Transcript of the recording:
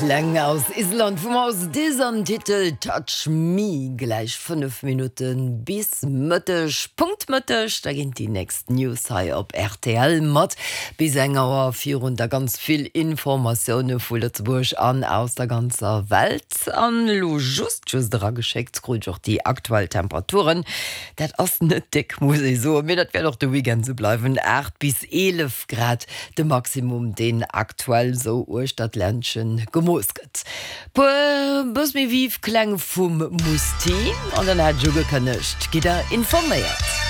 Kläng aus Island vum Ásdís am Titel Touch Me. Gläich 5 Minutte bis Mëtteg, Punkt Mëtteg, da ginn déi nächst News hei op rtl mat bis eng Auer virun da ganz vill Informatioune vu Lëtzebuerg an aus der ganzer Welt. An elo just just erageschéckt krut ech och déi aktuell Temperaturen. Dat ass net déck, muss ee soen, mee dat wäert och de Weekend esou bleiwen, 8 bis 11 Grad de Maximum, deen aktuell esou uechter d'Ländchen gemooss gëtt. Puer bëss méi viv Kläng vum Musti an dann hat ech ugekënnegt, gitt der informéiert.